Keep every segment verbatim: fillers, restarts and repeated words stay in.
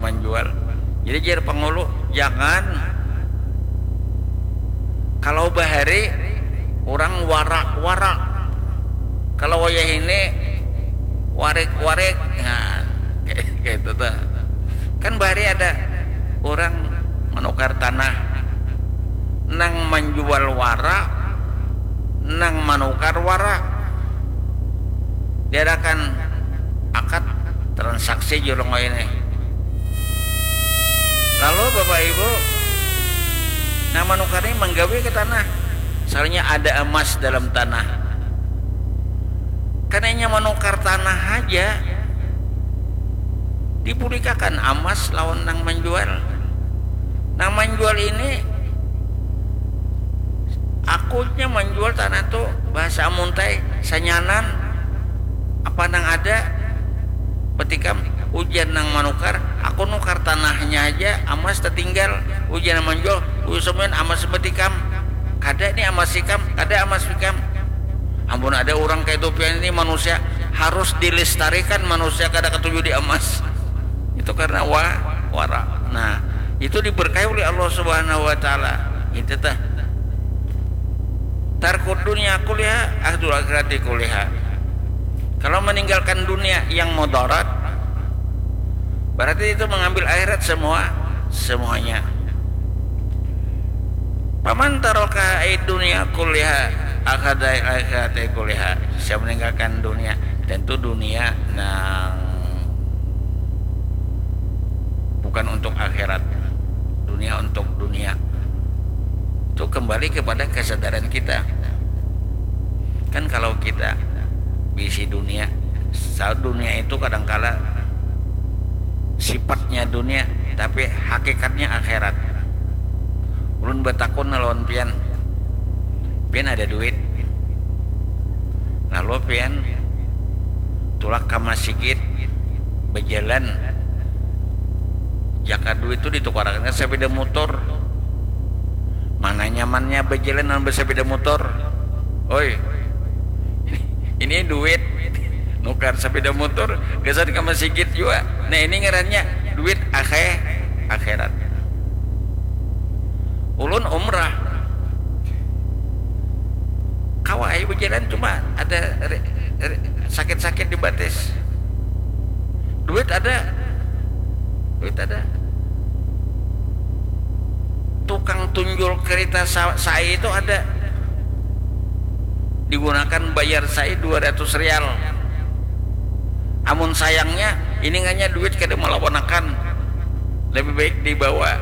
manjual. Jadi jar pangulu, jangan kalau bahari urang wara-wara, kalau wayah ini warik-warik. Nah, kayak gitu tuh. Kan bahari ada urang manukar tanah, nang manjual wara, nang manukar wara. Diadakan akad transaksi julung ini. Lalu Bapak Ibu, nah, manukar ini manggawi ke tanah. Soalnya ada emas dalam tanah. Karena manukar tanah aja dibulikakan emas lawan nang menjual. Nang menjual ini akunya menjual tanah tuh bahasa amuntai sanyanan apa nang ada petikam ujian nang manukar aku nukar tanahnya aja emas tertinggal ujian nang menjual usamin emas petikam kada nih emas ikam kada emas ikam ampun ada orang kayak itu pian ini manusia harus dilestarikan manusia kada ketuju di emas itu karena wa wara nah itu diberkahi oleh Allah Subhanahu wa taala itu teh tarkud dunia kuliah ahdul akhirati kuliah kalau meninggalkan dunia yang mudarat berarti itu mengambil akhirat semua semuanya paman taroka dunia kuliah akadai akhirat kuliah saya meninggalkan dunia tentu dunia nang bukan untuk akhirat dunia untuk dunia itu kembali kepada kesadaran kita kan kalau kita bisi dunia saat dunia itu kadangkala sifatnya dunia tapi hakikatnya akhirat ulun bertakun lawan pian pian ada duit lalu pian tulak ke masjid berjalan jaka duit itu ditukarakan ke sepeda motor mana nyamannya berjalan dengan bersepeda motor oi ini duit nukar sepeda motor gasan ke masjid juga nah ini ngarannya duit akhir akhirat ulun umrah kawai berjalan cuma ada sakit-sakit di batis duit ada duit ada tukang tunjul kereta sai itu ada digunakan bayar sai dua ratus rial amun sayangnya ini hanya duit kada melawanakan lebih baik dibawa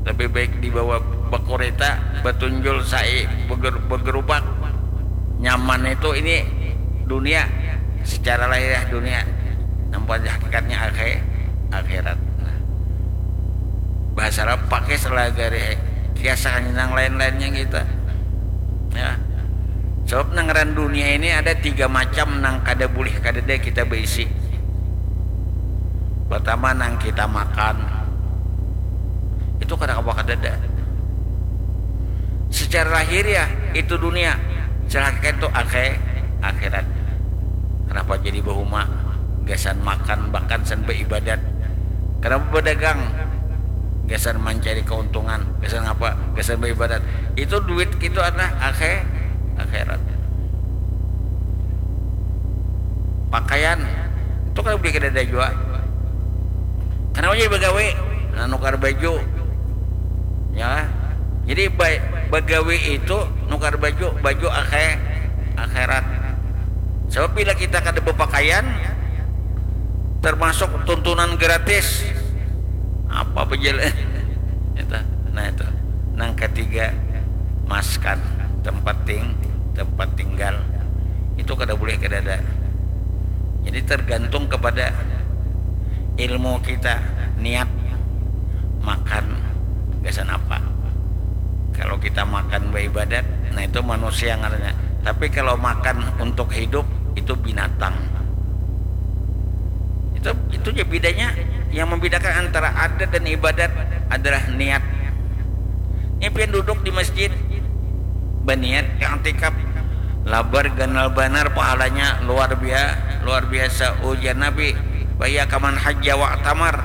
lebih baik dibawa bekurita betunjul sai beger, begerubak nyaman itu ini dunia secara lahiriah dunia nampak hakikatnya akhir akhirat nah. Bahasa Arab pakai salah gari kias nang lain-lainnya kita ya sebab nang ran dunia ini ada tiga macam nang kada boleh kada kita berisi pertama nang kita makan itu kada apa kada secara lahir ya itu dunia secara hakikat itu akhir akhirat kenapa jadi bahuma gasan makan bahkan san beribadat kenapa berdagang gasan mencari keuntungan gasan apa gasan beribadat itu duit itu adalah akhir akhirat pakaian itu kalau beli kedada juga kenapa jadi begawe nah, nukar baju ya jadi begawe itu nukar baju baju akhir akhirat sebab bila kita kada berpakaian termasuk tuntunan gratis apa bejalan itu nah itu nang ketiga maskan tempat ting tempat tinggal itu kada boleh kada ada jadi tergantung kepada ilmu kita niat makan gasan apa kalau kita makan beribadat nah itu manusia ngarannya tapi kalau makan untuk hidup itu binatang itu itu ya bedanya yang membedakan antara adat dan ibadat adalah niat ini pian duduk di masjid berniat yang tikap labar ganal banar pahalanya luar biasa luar biasa ujar nabi bahya kaman hajja wa tamar